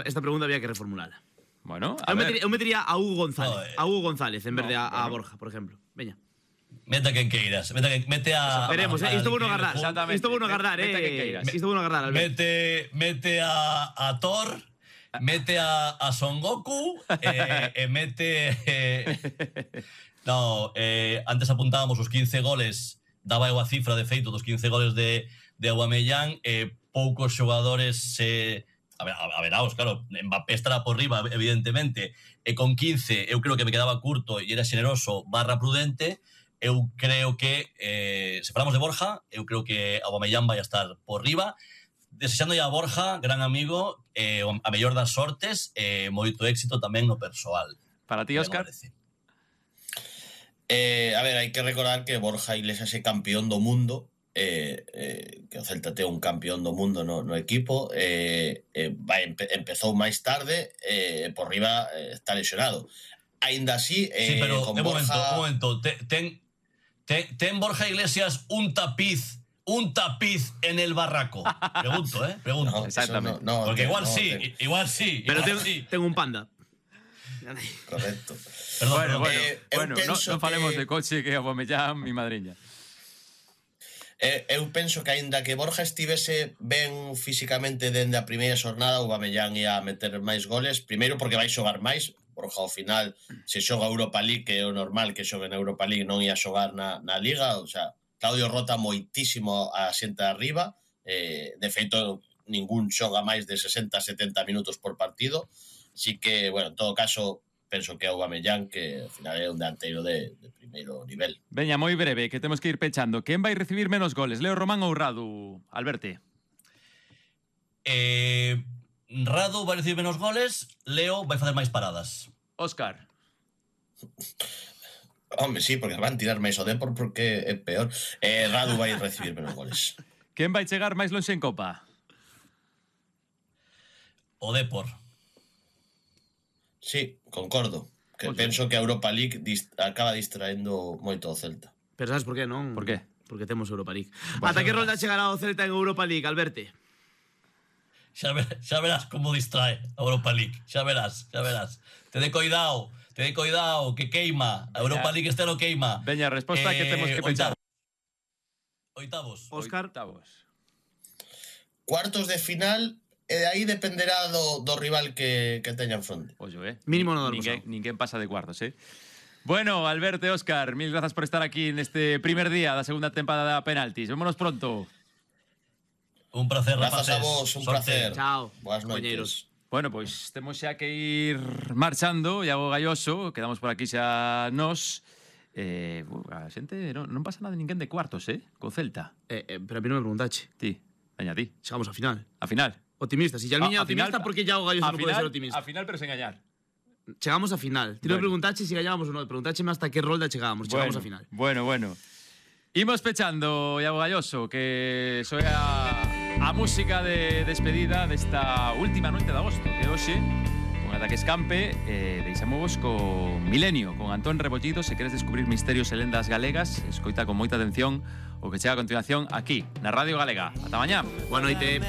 esta pregunta había que reformularla. Bueno, eu metería a Hugo González. A Hugo González en vez de a Borja, por ejemplo. Veña. Mete a quen queiras. Mete a... Veremos, isto bueno agardar. Isto bueno agardar, Isto bueno agardar, Albert. Mete a Thor, mete a Son Goku, mete... No, antes apuntábamos os 15 goles, daba eu a cifra de feito dos 15 goles de Aubameyang, poucos xogadores a veraos, claro, Mbappé estará por riba, evidentemente, e con 15 eu creo que me quedaba curto e era xeneroso / prudente. Eu creo que, se falamos de Borja, eu creo que Aubameyang vai a estar por riba, desexando a Borja, gran amigo, a mellor das sortes, moito éxito tamén no persoal. Para ti, Óscar? A ver, hai que recordar que Borja Iglesias é campeón do mundo, que o Celta ten un campeón do mundo no equipo, empezou máis tarde, por riba está lesionado. Aínda así, sí, pero con Borja... Un momento, ten Borja Iglesias un tapiz en el barraco. Pregunto, pregunto. No, exactamente. No, porque igual sí. Pero tengo un panda. Correcto. Bueno, non falemos de coche que Aubameyang, mi madriña. Eu penso que aínda que Borja estivese ben físicamente dende a primeira xornada, Aubameyang ia meter máis goles, primeiro porque vai xogar máis. Borja ao final, se xoga Europa League, que é o normal que xogue na Europa League, non ia xogar na Liga. O sea, Claudio rota moitísimo a xente de arriba, de feito ningún xoga máis de 60-70 minutos por partido, así que, bueno, en todo caso penso que Aubameyang, que ao final é un delanteiro de primeiro nivel. Veña, moi breve, que temos que ir pechando. Quen vai recibir menos goles, Leo Román ou Radu, Alberti? Radu vai recibir menos goles, Leo vai facer máis paradas. Óscar? Home, sí, porque van tirar máis o Depor porque é peor. Radu vai recibir menos goles. Quen vai chegar máis lonxe en Copa? O Depor. Sí, concordo. Que penso que a Europa League acaba distraendo moito o Celta. Pero sabes por qué, non? Por qué? Porque temos Europa League. Ata que rolda chegará o Celta en Europa League, Alberti? Xa verás como distrae a Europa League. Xa verás. Ten cuidado, que queima. A Europa League este no queima. Veña, resposta que temos que pensar. Oitavos. Óscar? Cuartos de final, e de aí dependerá do rival que teña en fronte. Mínimo no ninguén pasa de cuartos, Bueno, Alberto e Óscar, mil grazas por estar aquí neste primer día da segunda temporada de Penaltis. Vémonos pronto. Un placer, rapaces. Grazas a vos, un placer. Chao. Boas noites. Bueno, pois temos xa que ir marchando. Iago Galloso, quedamos por aquí xa nós. A xente non pasa nada de ninguén de cuartos, co Celta. Pero a mí non me preguntache. Ti, veña ti. Chegamos a final. A final. Optimista. Si ya el niño optimista, ¿por qué Iago Galloso non pode ser optimista? A final, pero sen gañar. Chegamos a final. Ti non preguntache si gañábamos ou non. Preguntácheme hasta que rolda chegábamos. Chegamos a final. Bueno. Imos pechando, Iago Galloso, que soe a música de despedida desta última noite de agosto, que hoxe, con Ataque Escampe, deixamos con Milenio, con Antón Rebollido. Se queres descubrir misterios e lendas galegas, escoita con moita atención o que chega a continuación aquí, na Radio Galega. Ata mañá. Boa noite.